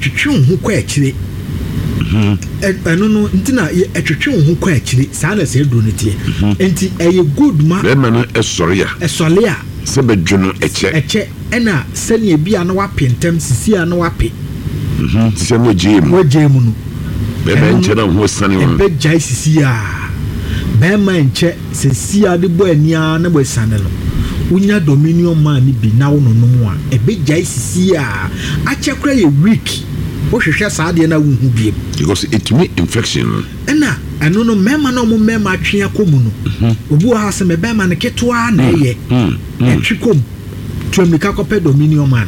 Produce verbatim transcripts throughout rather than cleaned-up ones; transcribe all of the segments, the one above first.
Ɛtwetwe wo ho kɔ akyire. Ɛ- ɛno no nti na yɛ- ɛtwetwe wo ho kɔ akyire saa na sɛ aduro no teɛ. Nti ɛyɛ good ma Bɛrima no ɛsɔre a, ɛsɔle a, sɛ bɛdwo no ɛkyɛ. Ɛkyɛ, ɛna sɛnea bi a na wape ntɛm sisi a na wape. Mhm, sɛ no agye mu. Wagyae mu no. Bɛrima ɛno nkyɛ na ho sane wɔn. Ɛbɛgyae sisi a bɛrima nkyɛ sisi a de bɔ ani a na wɔasiane no. Wonya Dominion Man no bi na wo nonom a, ɛbɛgyae sisi a akyɛ kora yɛ week, wohwehwɛ saa adeɛ no a, wonhu biem. Because ɛtumi infection no. Ɛna ɛno no, mmarima no a ɔmo mmarima atwe akɔ mu no, obi wɔ ha sɛ mɛ bɛrima no ketewa na ɛyɛ Mm, mm. ɛtwe kɔ mu, tu mmirika kɔpɛ Dominion Man.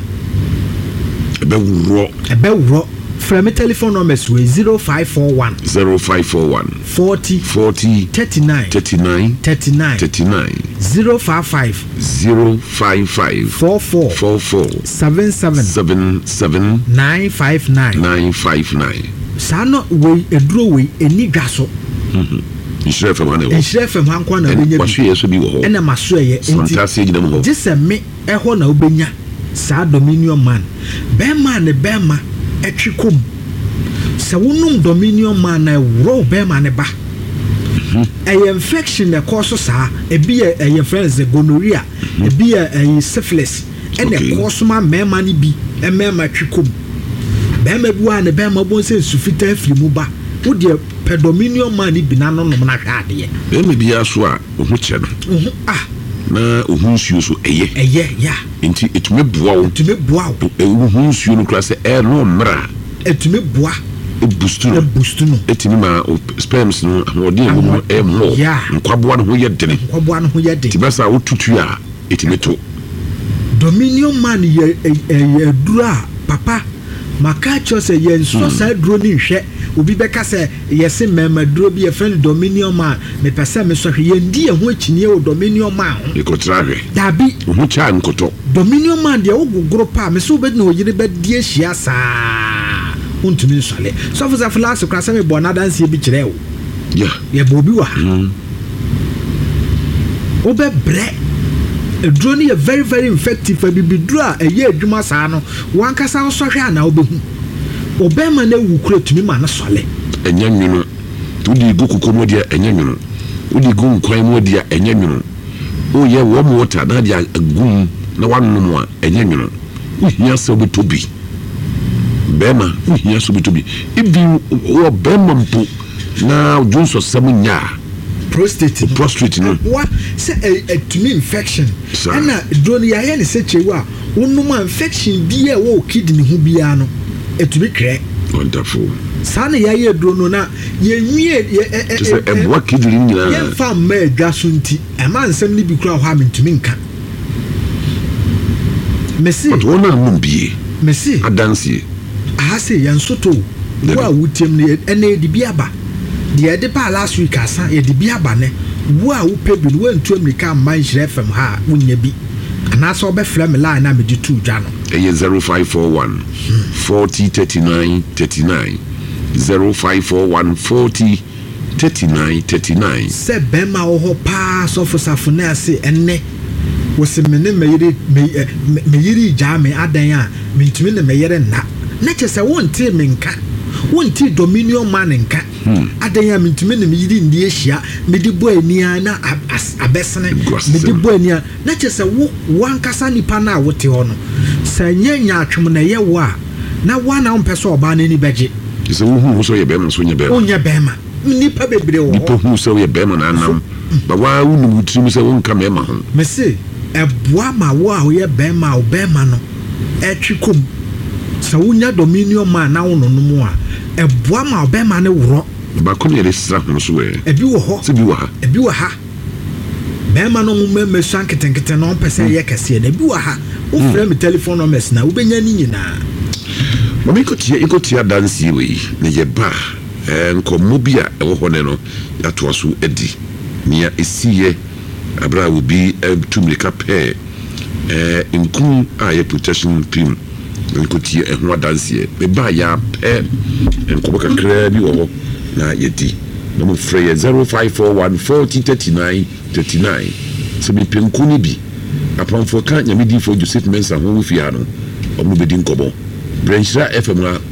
Ɛbɛworɔ. Ɛbɛworɔ. Frɛ me telephone numbers wei: zero five four one zero five four one forty forty thirty-nine thirty-nine thirty-nine thirty-nine. zero five five zero five five four four four four seven seven seven seven nine five nine. nine five nine. Saa no wei, eduro wei eni dwa so. Nhyira F M ha na ɛwɔ. Nhyira F M ha nko na wobɛnya bi. Waso yɛ so bi wɔ hɔ. Ɛna maso ɛyɛ nti Santase gyina mu hɔ. Gye sɛ me ɛhɔ na wobɛnya saa Dominion Man. Bɛrima a ne bɛrima ɛtwe kɔm, sɛ wonom Dominion Man na ɛworɔ wo bɛrima ne ba, ɛyɛ infection na ɛkɔ so saa. Ebi yɛ ɛyɛ fɛn sɛ gonorrhea, ebi yɛ ɛyɛ syphilis, ɛna Okay. ɛkɔ so ma mmarima no bi mmarima twe kɔm. Bɛrima bi wɔ a ne bɛrima bɔ sɛ nsu fitaa firi mu ba, wodeɛ pɛ Dominion Man no bi na no nom na hwɛ adeɛ. Bɛrima biara so a wo ho kyɛ no Oho ah. na wo ho nsuo so ɛyɛ. Ɛyɛ ya. Nti ɛtumi boa wo. Ɛtumi boa wo. Ɛ- wo ho nsuo no koraa sɛ ɛno mmerɛ a, ɛtumi boa. Ɛboost no. Ɛboost no. Ɛtumi ma wo sperms no ahoɔden a ɛwɔ mu no ɛyɛ mmɔ. Yeah. Nkwaboa no ho yɛ dene. Nkwaboa no ho yɛ den. Nti bɛsa a wotutu a, ɛtumi to. Dominion Man yɛ ɛyɛ aduro a papa maka kyerɛ sɛ yɛnsɔ saa aduro no nhwɛ. Obi bɛka sɛ yɛse mmarima duro bi yɛfrɛ no Dominion Man, mepɛ sɛ mesɔ hwɛ. Yɛndi yɛn ho akyiniɛ wɔ Dominion Man ho. Yɛkɔtra hwɛ. Daabi. Wo ho kyɛ a, nkɔtɔ. Dominion Man deɛ, wogogoro pa a mesɛ wobɛdi na ɔyere bɛdi ahyia saa, wontumi nsɔle. Sɔfo sɛ last koraa sɛ mebɔ n'adanseɛ bi kyerɛ wo. Ya. Yɛbɔ obi wɔ ha, wobɛbrɛ. Aduro no yɛ very very effective. Abibiduro a ɛyɛ adwuma saa no, wankasa wosɔhwɛ a na wobɛhu ɔbɛrima no awu kura tumi ma no sɔle. Ɛnyɛ nwono. Nti wode gu koko mu deɛ, ɛnyɛ nwono. Wode gu nkwan mu deɛ, ɛnyɛ nwono. Woyɛ warm water na de agu mu na woanom a, ɛnyɛ nwono. Wohia sɛ wobɛtɔ bi. Bɛrima, wohia sɛ wobɛtɔ bi. Even wɔ bɛrima mpo na dwonsɔsɛm nya a, prostate no. Prostate no. Ɛboa sɛ ɛ- ɛtumi infection. Saa. Ɛna duro no yɛayɛ ne sɛ kyewu a wonom a, infection biara ɛwɔ wo kidney ho biara no, ɛtumi twerɛ. Wonderful. Saa na yɛayɛ duro no na yɛnwie yɛ ɛ- ɛ- kyɛ sɛ ɛ- ɛ- ɛboa kidney no nyinaa. Yɛmfa mma adwa so nti ɛma nsɛm no bi kora hɔ a mentumi nka. Mese But wɔn a nom bie mese adanseɛ. Aha se yɛn so to Dabi. wo a wotiam no, yɛ- ɛnɛ yɛde bi aba. Deɛ yɛde baa last week asa, yɛde bi aba. Nɛ wo a wopɛ bi no, woantu amirika amma Nhyerɛ F M ha a, wonya bi, anaasɛ wobɛfrɛ me line a mede too dwa no. Ɛyɛ zero five four one forty thirty-nine thirty-nine, zero five four one forty thirty-nine thirty-nine. Sɛ bɛrima wɔ hɔ paa, sɔfo safo ne ase, ɛnnɛ wɔsi me ne me yere me ɛ me me yere gyaa me adan a, mentumi ne me yere nna, na kyerɛ sɛ wontee me nka, wontee Dominion Man nka. Adan a mentumi ne me yere nni ahyia, mede bɔ ani a na a- as- abɛsene. Guasɛm. Mede bɔ ani a, na kyerɛ sɛ wo wankasa nipa no a wote hɔ no, sɛ nyɛ nyaatwom na ɛyɛ wo a, na woa na wompɛ sɛ ɔbaa no ani bɛgye. Sɛ wohu wo sɛ woyɛ bɛrima so, wonyɛ bɛrima. Wonyɛ bɛrima. Nnipa bebree wɔ nipa hɔ. Hu sɛ woyɛ bɛrima na anam ba waa, wonim wo tirim sɛ wonka mmarima ho. Mese ɛboa ma wo a woyɛ bɛrima a, wo bɛrima no ɛtwe kom. Sɛ wonya Dominion Man na wo nonom a, ɛboa ma wo bɛrima no worɔ. Baako ne yɛde sra ho so ɛ. Ebi wɔ hɔ. Sɛ bi wɔ ha. Ebi wɔ ha. Bɛrima no mo mmarima sua nketenkete na ɔmpɛ sɛ ɛyɛ kɛseɛ na ebi wɔ ha. Wofrɛ me telephone numbers na wobɛnya ne nyinaa. Ma menkɔtie nkɔtie adanseɛ wei na yɛba a, eh, nkɔmmɔ bi a ɛwɔ hɔ ne no yɛatoa so adi nea ɛsiiɛ aberɛ a obi eh, tu mmirika pɛɛ eh, nku a ɛyɛ protection cream. Nkɔtie ɛho adanseɛ. Meba a, yɛapɛ nkɔmmɔ kakraa bi wɔ hɔ na yɛdi na mofrɛ yɛ zero five four one forty thirty-nine thirty-nine sɛ mepɛ nku no bi. Apamfoɔ ka Nyame difoɔ Joseph Mensa ho wɔ fie ha no, ɔmo bɛdi nkɔmmɔ. Brɛ Nhyira F M a.